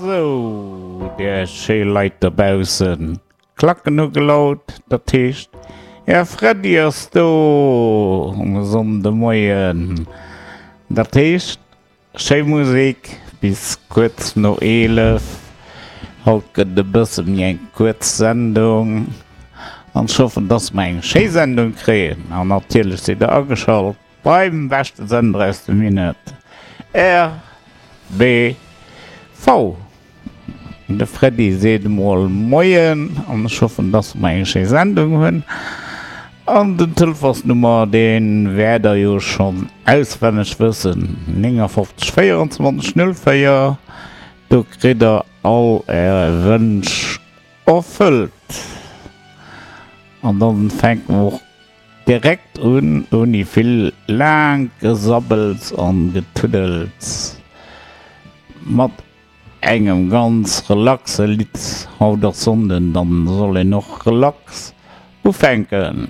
Sou, där schéi Leit dobaussen, d'Klacken hu gelaut, dat heescht, Här Freddy ass do um Sonndemoien. Dat heescht, schéi Musek bis kuerz no 11. Haut gëtt e bësse méi eng kuerz Sendung an ech hoffen, dass mer eng schéi Sendung kréien. An natierlech sidd der ageschalt. Beim beschte Sender aus dem Minett, RBV. De Freddy seet emol Moien an ech hoffen, dass mer eng schéi Sendung hunn. An den Telefonsnummer, dee wäert der jo schonn auswenneg wëssen, 59 24 04. Do kritt der all är Wënsch erfëllt. An dann fänke mer och Direkt un, ouni vill laangt Gesabbels an Getuddels, mat engem ganz relaxe Lidd. Haut ass Sonnden, dann soll een och relax ufänken.